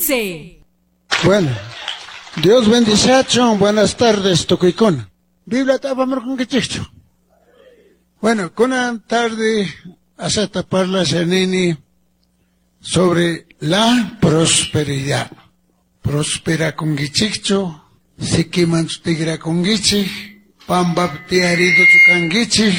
15. Bueno, Dios bendiciachun, buenas tardes, tukuykuna. Biblia apamurqunkichikchu. Bueno, kunan tarde asata parlasha nini sobre la prosperidad. Prosperakunkichikchu, sikimanchu tikrakunkichik, pampapi tiyariduchu kankichik,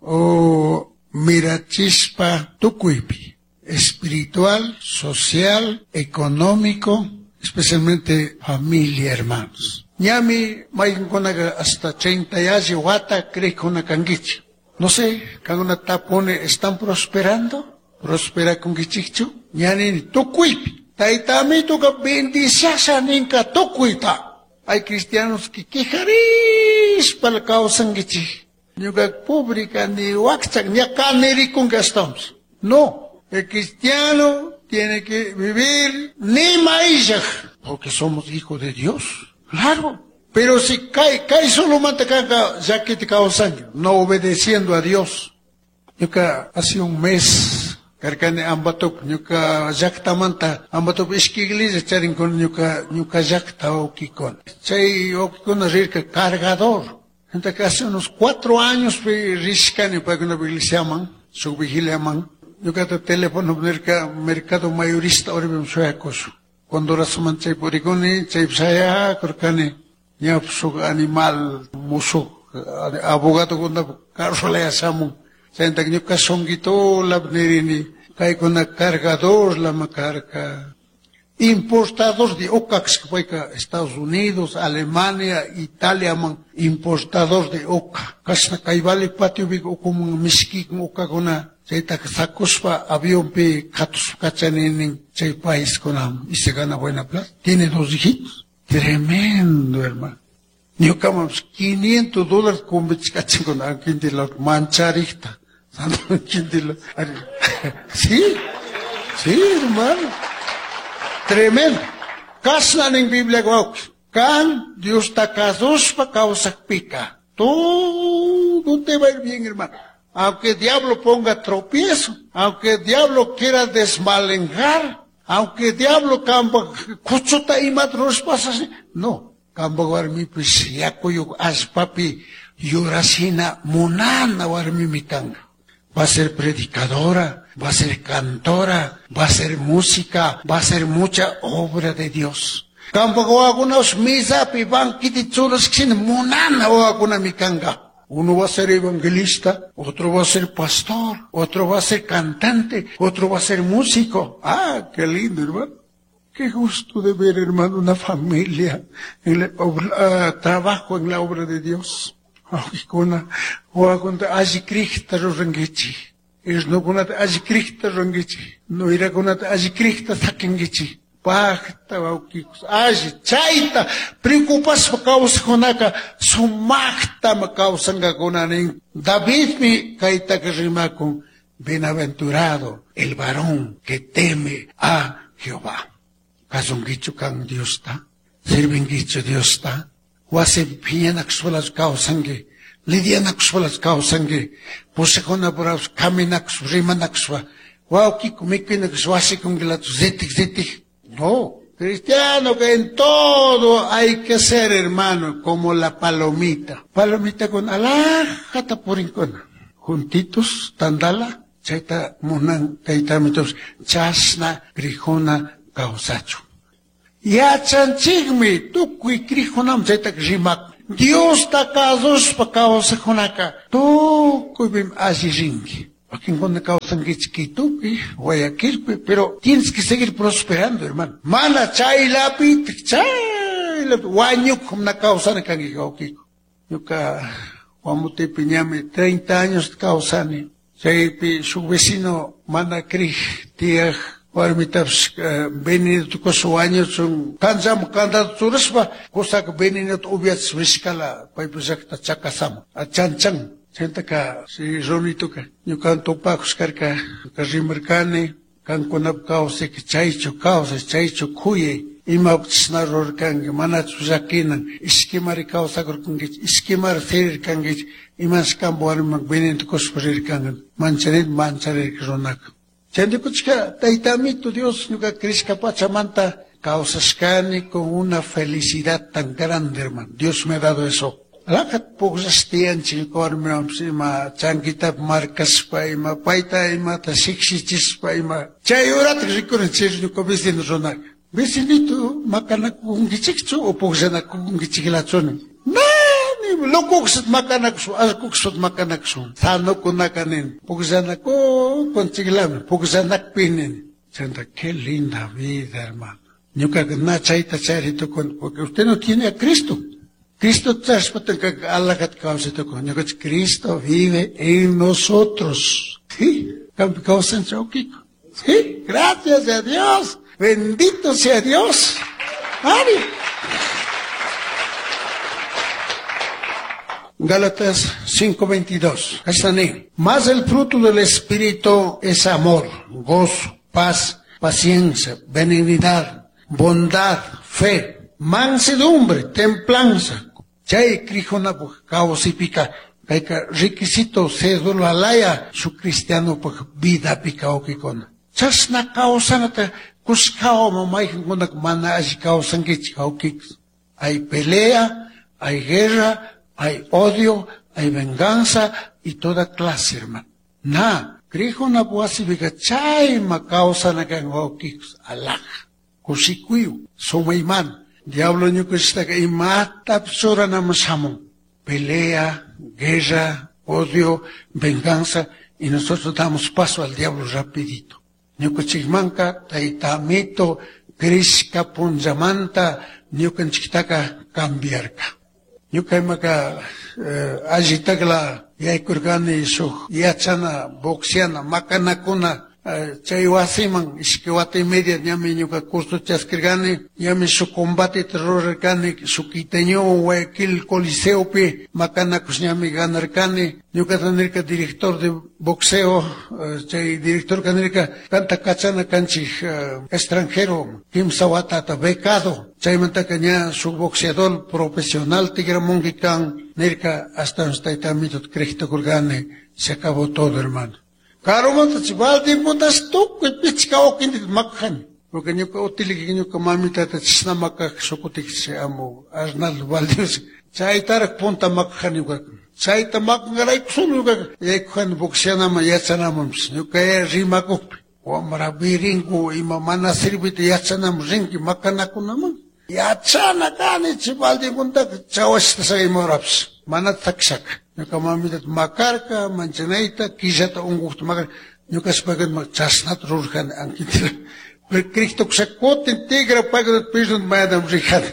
o mirachispa tukuypi, espiritual, social, económico, especialmente familia, hermanos. Ñami mayqinkunaqa hasta 30 yalli wata creejkuna kankichik. No sé, kankuna tapuni están prosperando? Prosperakunkichikchu? Ña nini tukuypi. Tayta Amituka bendiciasha ninka tukuyta. Hay cristianos que quejarispa kawsankichik. Ñuka pobre kani wakcha ña kanirikunki ashtawanpis. No, el cristiano tiene que vivir ni maillaj, porque somos hijos de Dios. Claro. Pero si cae solo manta kanka llakita kawsanki, no obedeciendo a Dios. Ñuka hace un mes karkani Ambatop, ñuka llaktamanta Ambatop ishki iglesia charinkuna ñuka llakta wawkikuna. Chay wawkikuna rirka cargador. Entonces hace unos 4 años rishkani paykuna iglesiaman, shuk vigiliaman. Ñukata teléfono nirka mercado mayorista oribim shuyakushun. Cuando rasuman chay purikuni, chay shayakurkani, ña shuk animal mushuk abogado kuna carro shamun. Chayta ñuka shunquitola nirini, kaykuna cargador lama karka. Importador de oca, payka Estados Unidos, Alemania, Italia man, importador de oca. Kashna kay vale patio bi ukumun mishki ocakuna, chayta sakuspa avionpi katuspa kachaninin chay país kuna y se gana buena plata. Tiene 2 hijitos. Tremendo, hermano. Ñukaman quinientos dólares kumbichkachin quintila mancharikta. Santo quintila. Sí, sí, hermano. Tremendo. Kashna nin Biblia wawqi. Kan Dios ta kasuspa kawsakpika. Todo te va a ir bien, hermano. Aunque el diablo ponga tropiezo, aunque el diablo quiera desmalenjar, aunque el diablo camba kuchuta ima rushpasas, no. Kamba warmipis yakuyuk allpapi yurashina munana warmimi kanka. Va a ser predicadora, va a ser cantora, va a ser música, va a ser mucha obra de Dios. Kamba wawakunash misapi banquiti churashkashina munana wawakunami kanka. Uno va a ser evangelista, otro va a ser pastor, otro va a ser cantante, otro va a ser músico. Ah, qué lindo, hermano. Qué gusto de ver, hermano, una familia en la obra, trabajo en la obra de Dios. Wawqikuna, wawakunata alli crikta rurankichik. Irnukunata alli crikta rurankichik. Nuyrakunata alli crikta sakinkichik. Pajta wawqikus, alli chayta preocupashpa kawsajkunaka sumaktam kawsankakuna nin. Davidmi kaytaka rimakun, bienaventurado el varón que teme a Jehová. Kasunkichu kan Diosta, sirvinkichu Diosta, wasi phiñanakushpalas kawsanki, lidianakushpalas kawsanki, pushakuna purapas kaminakushpa, rimanakushpa, wawkiku mikuynakushpa wasikunkilachu zitik zitik. No, cristiano que en todo hay que ser, hermano, como la palomita. Palomita con alajata purinkuna. Juntitos, tandala, chayta munan, tayta mitos, chasna, grijuna, kawsachu. Yachanchikmi, tukuy grijunam chayta rimak. Dios ta kasuspa kawsakunaka, tukuypim alli rinki. Wakinkuna kawsankichik Quitopi, Guayaquilpi, pero tienes que seguir prosperando, hermano. Mana chaylapi, chaylapi, wañukum na kawsani kanki wawqiku. Ñuka Guamotepi ñami 30 años kawsani. Chaypi shuk vecino mana krij tiyaj warmitapish, veneno tukuspa wañuchun, kanchaman kantata churashpa, kusaka venenota upiachishpa rishkala, paypa llakta chakasama, chanchan. Chaytaka, si runituka, ñukan tupakush karka, ñuka rimarkani, kankunapa kawsayka chaychu kawsay, chaychu kuyay, imapish na rurarkanki, manachu llakinan, ishkimari kawsakurkankichik, ishkimari sirirkankichik, imash kanpa warmiman venenota kushpa rirkanki, mancharin, mancharirka runaka. Chayndikuchka, Tayta Amito Dios, ñuka crishka pachamanta, Kawsashkani con una felicidad tan grande, hermano. Dios me ha dado eso. Lakat pugllash warmiwanpish ima chankitapi markashpa ima payta imata shikshichishpa ima chay uratak rikurin chay ñuka vecino runaka. Vecinito makanakunkichikchu o pugllanakunkichiklachu nin. Na locokushata makanakushun allkukushpata makanakushun sanukunaka nin pugllanakunchiklami pugllanakpi nin. Chanta qué linda vida, hermano. Ñukaka na chayta chari tukuni porque usted no tiene a Cristo. Cristo alajat kawsay tukun. Ñukanchik Cristo vive en nosotros. Sí, kawsan chawkiko. Sí, gracias a Dios. Bendito sea Dios. Ari. Gálatas 5:22. Ahí. Más el fruto del Espíritu es amor, gozo, paz, paciencia, benignidad, bondad, fe, mansedumbre, templanza. Chay krijunapaj kawsaypika kayka requisito cédula laya su cristianopaj vidapi kawkikuna. Chashna kawsanata kushkawan mayqankunaka mana alli kawsankichik wawkik. Hay pelea, hay guerra, hay odio, hay venganza y toda clase, hermano. Na, krijunapaj wasipika chayma kawsana kan wawkik alaja. Kushikuyu, sumayman. Diablo ñukanchiktaka imatapish churanaman shamun. Pelea, guerra, odio, venganza, y nosotros damos paso al diablo rapidito. Ñukanchikmanka tayta amito crishka punllamanta ñukanchiktaka cambiarka. Ñuka imaka allitakla yaykurkani shuk yachana, boxeana, makanakuna, chay wasiman ishkay wata y media ñami ñuka curso chaskirkani, ñami shuk combateta rurarkani, shuk quiteñowan Guayaquil Coliseopi makanakush ñami ganarkani. Ñukata nirka director de boxeo, chay directorka nirka kanta kachana kanchik extranjero, kimsa watata becado, chaymantaka ña shuk boxeador profesional tigramunki kan, nirka hasta tayta amito creejtukurkani, se acabó todo, hermano. Karumanta chay baldinkuntash tukuy pichka wawkintita makajani. Porque ñuka utiliki ñuka mamitata chashna makaj shukutik chay amo Arnaldo Valdez. Chaytarak punta makajani ñukaka. Chayta makangarayku solo ñukaka yaykujani boxeanaman yachanamanpish. Ñuka rimakukpi. Wamra birinku ima mana sirvita yachanaman rinki makanakunaman. Yachana kani chay baldinkuntaka chawashta sakimurapish. Mana takshaka. Ñuka mamitata makarka, manchanayta, killata unqukta makarka. Ñukashpaka chashnata rurjani ankitira. Pero Cristo kutin tigra paykunata pirdun mayadam rijani.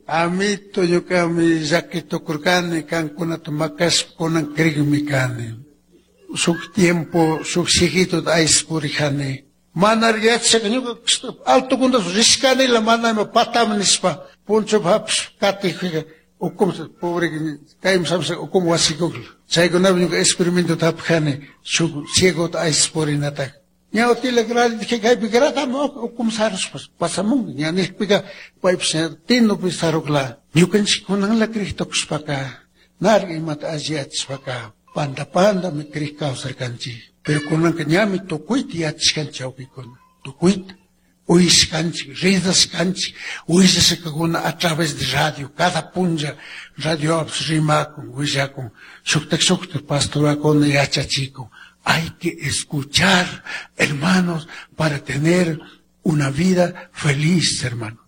Amito ñukami llaki tukurkani, kankunata makashpa kunan krikmi kani. Shuk tiempo, shuk cieguitota ayshpurijani. Mana yachashaka ñuka altokunta rishkanila mana ima patami nishpa punchupi hapishpa katikpika ukum pobre kaymi samsa ukum wasikukla. Chaykunapi ñuka experimentota hapijani shuk ciegota ayshpurinataka. Ña utila gradi kaypi gratami ukum sarushpa pasamunki. Ña nijpika paypish ña tinupi sarukla. Ñukanchik kunanla krik tukushpaka narka imata alli yachashpaka panda pandami krik kawsarkanchik. Pero kunanka ñami tukuyta yachashkanchik wawkikuna. Tukuyta. Uyashkanchik, ridashkanchik, willashkakuna a través de radio, cada punlla radio rimakun, willakun, shuktak shuktak pastorakuna yachachikun. Hay que escuchar, hermanos, para tener una vida feliz, hermano.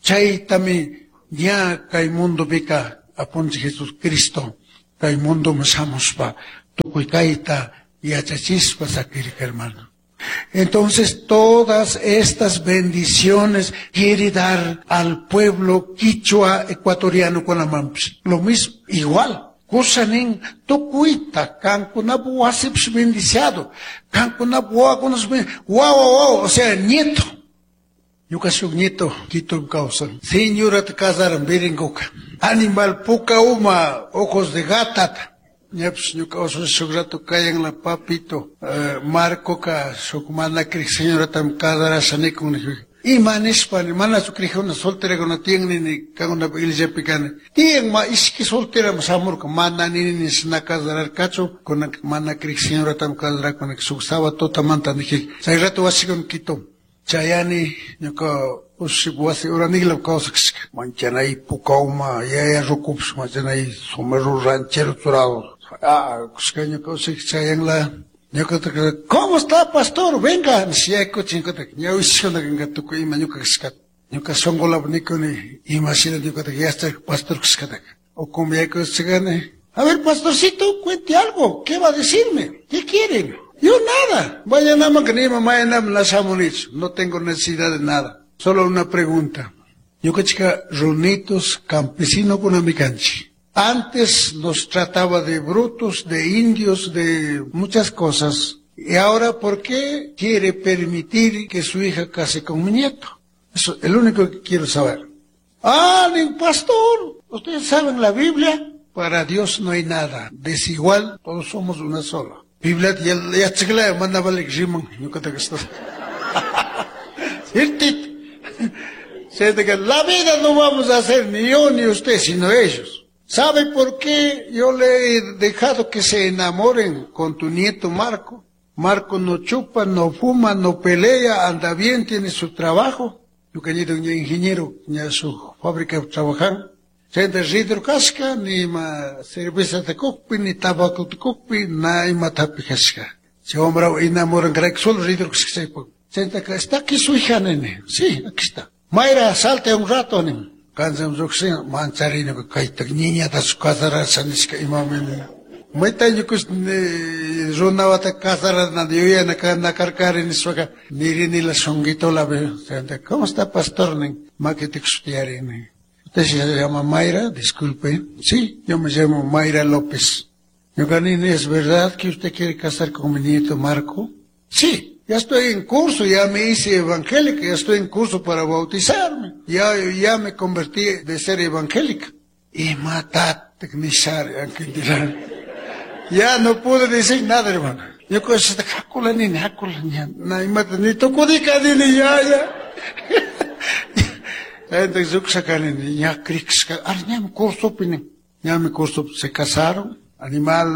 Chaytami ña kay mundopika apunchik Jesucristo, kay mundoman shamushpa tukuy kayta yachachishpa sakirka, hermano. Entonces todas estas bendiciones quiere dar al pueblo quichua ecuatoriano con la mampis. Lo mismo, igual. Kusanin tukuyta kankunapu wasipish bendiciado, kankunapu wawakunash wawa wawa, o sea, nieto. Ñuka shuk nieto Quito kawsan. Señorata casaran biringuka. Animal puka uma, ojos de gata. Ñapish ñuka usushi shuk rato kayanla papito, Marcoka shuk mana krik señoratam casarasha nikun nijpika. Ima nishpa manachu crijuna solterakuna tiyan nini kankunapak iglesiapi kani. Tiyan ma ishki soltera shamurka mana nini nishna casararkachu kunan mana crij señoratami casarakuna shuk sábado tutamanta niji. Chay rato wasikuna Quito. Chayani ñuka ushi wasi uranigla kawsakashka. Manchanay pukauma yaya rukupish manchanay sombrero ranchero churado. Ah, kushka ñuka ushi chayanla. Ñuka ¿cómo está pastor? Venga, ñuka ñawishkuna tukuy ima ñuka kashkata. Ñuka shunqulap nikuni ima shina ñukataka yachak pastor kashkataka. Ukumi yaykuchikani. A ver, pastorcito, cuente algo. ¿Qué va a decirme? ¿Qué quieren? Yo nada. Mañana que ni mañana na shamunichu. No tengo necesidad de nada. Solo una pregunta. Ñuka runitos campesino kunami kanchik. Antes nos trataba de brutos, de indios, de muchas cosas. Y ahora, ¿por qué quiere permitir que su hija case con mi nieto? Eso es el único que quiero saber. Ah, ni pastor, ustedes saben la Biblia. Para Dios no hay nada desigual, todos somos una sola. Biblia ya chikla manda balik riman, ñuqata kastas. Ciertito. La vida no vamos a hacer ni yo ni usted, sino ellos. ¿Sabe por qué yo le he dejado que se enamoren con tu nieto Marco? Marco no chupa, no fuma, no pelea, anda bien, tiene su trabajo. Ñuka nieto ña ingeniero, ña su fábrica trabajan. Chayta ridro kashka, ni ima cerveza takukpi, ni tabaco takukpi, na ima tapi kashka. Chay wambra enamoran karayku solo ridro kashka chaypak. Chayta está aquí su hija, nene. Sí, aquí está. Mayra, salte un rato, nin. Kancham lluqshin mancharini kayta niñatachu casarasha nishka imami. Mayta ñukush runawata casarana yuyana nakarkari nishpaka nirinila shunqitola. ¿Cómo está pastor? Nin. Makita tiyari. Usted se llama Mayra, disculpe. Sí, yo me llamo Mayra López. Ñuka nini, ¿es verdad que usted quiere casar con mi nieto Marco? Sí, ya estoy en curso, ya me hice evangélica, ya estoy en curso para bautizarme. Ya me convertí de ser evangélica. Y matate, Ya no pude decir nada, hermano. Yo hakula nini, hakula na imata ni tukudika nini, ya, ya. Entonces, lluqshakani ña crikshka, ar ñami cursopi nin. Ñami cursopi se casaron. Animal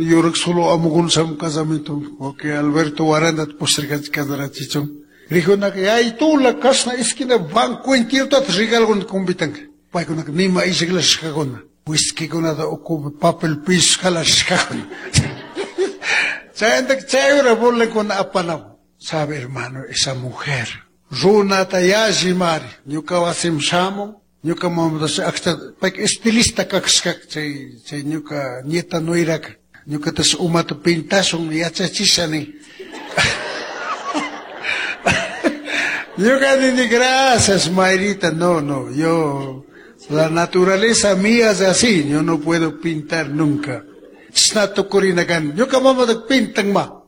yurak solo amukuna shamun casamiento. Porque Alberto Waranda pusharkanchik casarachichun. Rijunaka yaytula kashna esquina banco entero regalokuna convitanka. Paykunaka nima ishikla Whiskykunata ukupi papel piso jalashkakuna. Chayantaka chay hora burlakuna apanamun. Sabe, hermano, esa mujer. Runata yalli mari. Ñuka wasim shamun. Ñuka mamatash akcha payka estilista kashka chay chay ñuka nieta nuiraka. Ñukatash umata pintashun yachachisha nin. Ñuka nini gracias, Mayrita. No, no, yo, la naturaleza mía es así, yo no puedo pintar nunca. Chashna tukurina kani. Ñuka mamata pintan ma.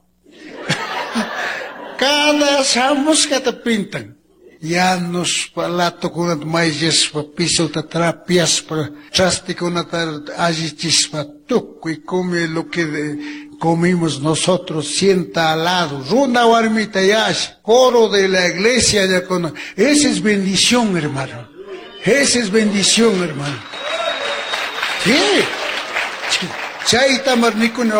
Cada shamushkata pintan. Yanushpa, latokunata mayllashpa, pisota trapiashpa, trastikunata allichishpa, tukuy come lo que comimos nosotros, sienta al lado, runa warmita yash, coro de la iglesia ya con. Esa es bendición, hermano. Esa es bendición, hermano. Sí. Chayta mar nikuni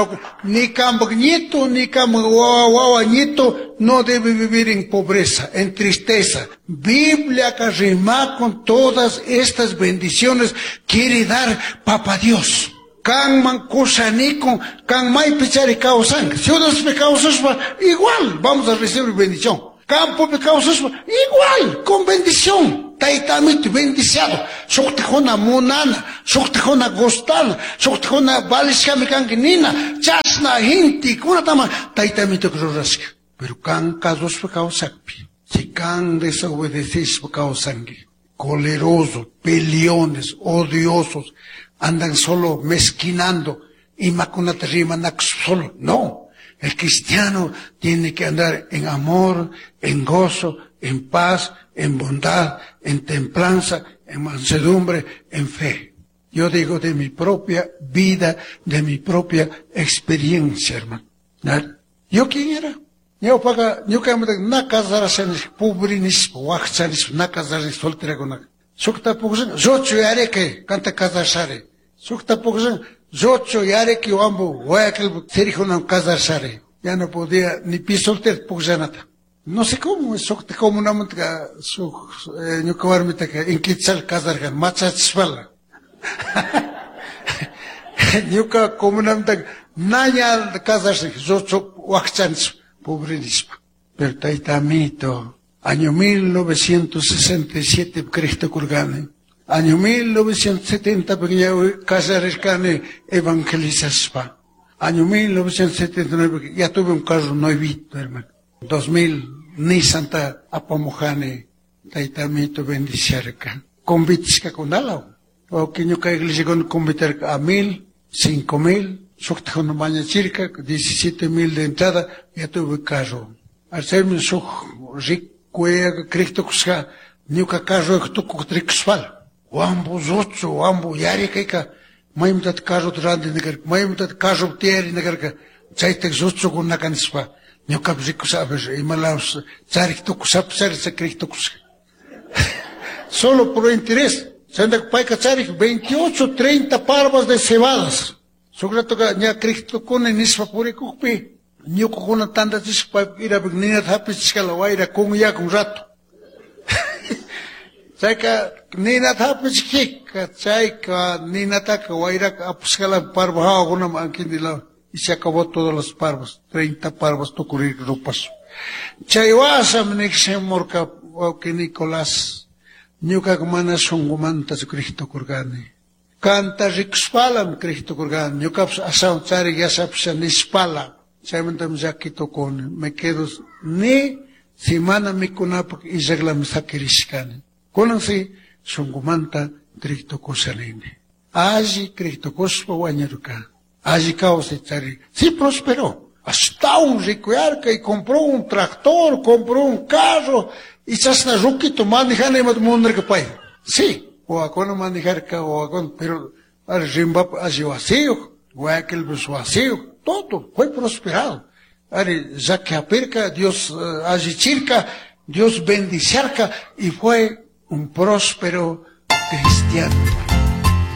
ni kampak nieto, ni kampak wawa wawa nieto no debe vivir en pobreza, en tristeza. Biblia que con todas estas bendiciones quiere dar Papa Dios. Kanman kushanikun, kan maypi chari kawsanka. Ciudadpi kawsashpa, igual vamos a recibir bendición. Campopi kawsashpa, igual, con bendición. Tayta Amito bendiciado. Shuktikuna munana, shuktikuna gustana, shuktikuna valishkami kanki nina, chashna gentekunatama Tayta Amito rurashka. Pero kan kasushpa kawsakpi, si kan desobedecishpa kawsanki, colerosos, peleones, odiosos, andan solo mezquinando, imakunata rimanakushpa solo. No, el cristiano tiene que andar en amor, en gozo, en paz, en bondad, en templanza, en mansedumbre, en fe. Yo digo de mi propia vida, de mi propia experiencia, hermano. ¿Yo quién era? Ñawpaqa ñukamanta na casarasha nishpa, pobre nishpa, wakcha nishpa, na casarasha solterakunaka. Shukta pukllan, lluchu yarikay, kanta casarashari. Shukta pukllan, lluchu yarikay wambu, Guayaquil sirijunan casarashari. Ya no podía ni pi soltero pukllanata. No sé cómo, shukta comunamanta shuk ñuka warmitaka inkichal casarkan, machachishpala. Ñuka comunamanta na ña casarasha, lluchu wakcha nishpa, pobre nishpa. Pero tayta amito, año 1967 Cristo kurgani. Año 1970 casarirkani evangelizashpa. Año 1979 ya tuve un carro nuevito, hermano. 2000 Nissan ta apamujani, tayta amito bendiciarka. Convitishkakunalaw. O ñuka iglesia con convitarka a 1000, 5000, shukta mañachirka, 17,000 de entrada, ya tuve carro. Hacerme shuk rico Cristo kushka, ñuka carro tukuk trikushpala. Wambu zuchu, wambu yarikayka, maymantat carro ranti nakarka, maymantat carro tiyari nakarka, chaytak zuchukunaka nishpa, ñukapish rikushapish, imalapish charik tukushapish, charik Cristo tukushka. Solo por interés. Chayntaka payka charik 28, 30 parvas de cebadas. Shuk ratoka ña Cristo kuni nishpa purikukpi, ñukukuna tandachishpa irapik ninata hapichishkala wayra kunyakun rato. Chayka ninata hapichikika, chayka ninataka wayraka apashkala parva hawakunaman ankindila y se acabó todas las parvas, 30 parvas tukurir rupash. Chay wasam nikshimurka wawqi Nicolás, ñukaka mana shunkumantachu Cristo kurgani. Kanta rikushpalam Cristo kurgani, ñukapish ashawan charik yashapisha nishpala. Chaymantami llaki tukuni, me quedo ni si mana mikunapak illaklami sakirishkani. Kunan si shunkumanta Cristo kushanini. Alli Cristo kushpa wañurka. Alli kawsay chari. Sí prosperó. Hasta un rico y compró un tractor, compró un carro, y chashna ruquito manejana imata munarka pay. Sí, wawakuna manejarka, wawakuna, pero Rimbapa alli wasiyuq, Guayaquilpish wasiyuq, todo fue prosperado. Ari llaki hapirka, Dios allichirka, Dios bendiciarka, y fue un próspero cristiano.